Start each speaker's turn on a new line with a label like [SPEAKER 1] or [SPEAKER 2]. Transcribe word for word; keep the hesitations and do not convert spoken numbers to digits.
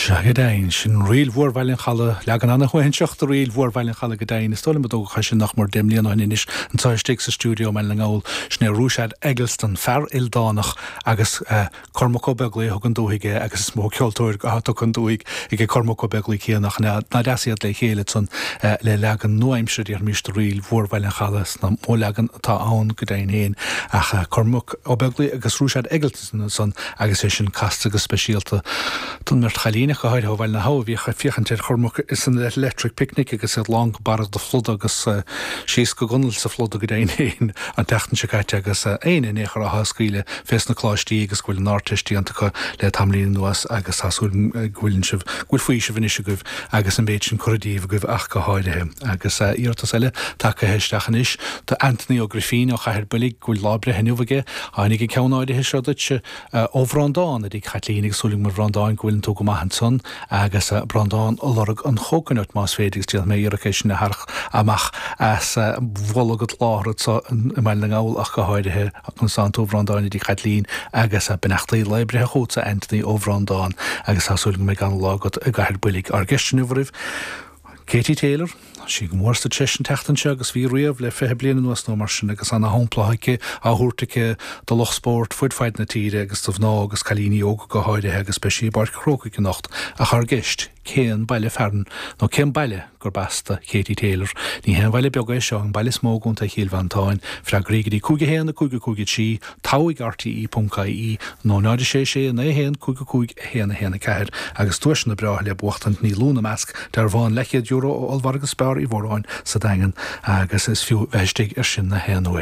[SPEAKER 1] Sea, go deimhin, sin Ríl Mhór Bhaile an Chalaidh, leagan ana-shuaithinseach de Ríl Mhór Bhaile an Chalaidh go deimhin. Is dóigh liom a dtógadh é sin nach mór deich mbliana ó shin anois anseo istigh sa stiúideo i mBaile na nGall. Sin é Ruaisead Eggleston, fear ildánach agus Cormac Ó Beaglaoich a thug an dúthaigh é agus is mó ceoltóir atá tugtha an dúthaigh ag Cormac Ó Beaglaoich céanna ach nach deas iad le chéile ansan le leagan nua-aimseartha déarfaimis de Ríl Mhór Bhaile an Chalaidh is mó leagan atá ann go deimhin féin ach Cormac Ó Beaglaoich agus Ruaisead Eggleston ansan agus é sin casta go speisialta don mbeirt chailín ach go háirithe ó Bhaile na hAbha a bhíodh ag féachaint ar Chormac san Electric Picnic agus iad lán go barra de phluda agus síos go gunail sa phluda go deimhin féin an tseachtain seo caite agus éinne in aon chor atá ag scaoileadh fés na coláistí agus go bhfuil an Ardteist déanta acu le tamaillín anuas agus tá súil go bhfuil sibh go bhfuil faoiseamh anois agaibh agus an méid sin curtha díobh agaibh ach go háirithe. Agus iarratas eile tagtha isteach anois do Anthony Ó Grifín ó Chathair Builg go bhfuil lá breithe inniu aige. Tháinig an ceann áirithe seo duit ó Bhreandán a dtig Chaitlín agus súil agam a Bhreandáin go bhfuileann tú go maith ansan agus Breandán ag lorg an chóconut más féidir agus déanfaidh mé iarracht é sin a tharrac amach as bholg an tsláthair anso i mBaile na nGall ach go háirithe conas tánn tú a Bhreandáin a dtig Chaitlín agus beannachtaí lae breithe chugatsa Anthony ó Bhreandán agus tá súil go mbeidh an-lá agat i gCathair Builg. Ár gceist inniu oraibh Katie Taylor, Tá sí go mór sa treis an tseachtain seo agus bhí riamh le fiche bliain anuas nó mar sin agus ana-shampla aici á thabhairt aici do lucht spóirt fud fad na tíre agus do mhná agus cailíní óga go háirithe agus beidh sí i bPáirc an Chrócaigh anocht ach ár gceist, cén baile fearainn nó cén baile gurb as do Katie Taylor? Ní haon bhaile beag é seo, an baile is mó i gContae Chill Mhantáin. Freagraí go dtí cúig a haon a cúig a cúig a trí, togha ag RTE ponc IE nó náid a sé sé naoi a haon cúig a cúig a haon a haon a ceathair agus duaiseanna breátha le buachtaint níl ina measc dearbhán leathchéad euro ó ollmhargadh Spar Uí Mhóráin sa Daingean agus is fiú bheith istigh ar sin na haon uair.